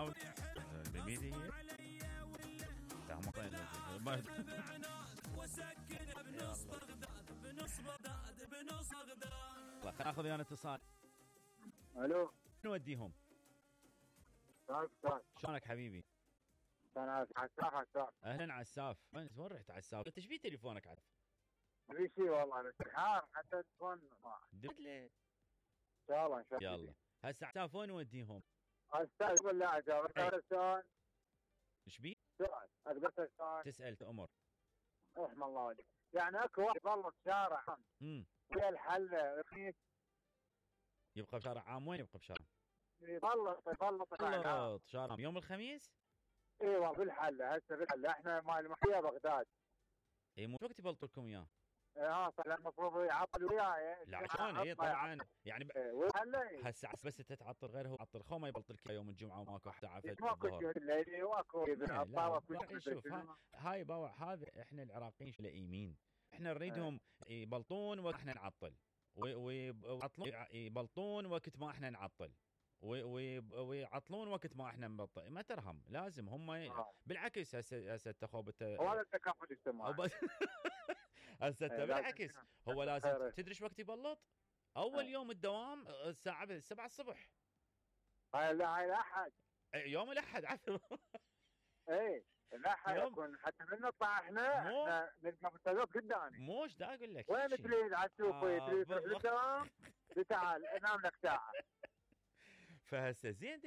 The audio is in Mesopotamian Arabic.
حاول بميدي هي خلينا ناخذ ويانا اتصال. الو نوديهم. شلونك حبيبي؟ انا عساف. اهلا عساف. وين رحت عساف؟ انت ايش في تليفونك عساف؟ في شيء والله انتحار حتى التليفون دلت لي. ان شاء الله يلا هسه عساف وين نوديهم؟ استاذ بالله اجاوب شلون؟ ايش بي؟ سؤال اقدر شلون؟ تسال تامر. رحم الله والديك. يعني اكو واحد يبلط شارع ويا الحل رخيص يبقى بشارع عام. وين يبقى بشارع؟ يبلط شارع يوم الخميس؟ ايوه بالحل. هسه بالحل احنا مال محيا بغداد. اي مو وقت يبلطوا لكم اياه. ها صح. المفروض يعطل وياي. لا شلون؟ اي طبعا يعني هسه بس انت تعطل غيره هو يعطل خو ما يبلط لك يوم الجمعه وماكو حتى عافيه ماكو الليلي واكو شوف هاي باوع. هذا احنا العراقيين لئيمين. احنا نريدهم يبلطون واحنا نعطل ويعطلون يبلطون وقت ما احنا نعطل ويعطلون وقت ما احنا نبطل. ما ترهم لازم هم بالعكس. هسه تخوب هو التكافل الاجتماعي. هسه بالعكس هو لازم تدري ايش وقت يبلط؟ اول يوم الدوام الساعه 7 الصبح. هاي الاحد. يوم الاحد عفوا. ايه الاحد يكون حتى من نطلع احنا نلقى بالتلوث قدامي. مو ايش دا اقول لك؟ وين تريد على السوق؟ تريد تروح للدوام؟ تعال انام لك ساعه. فهسه زين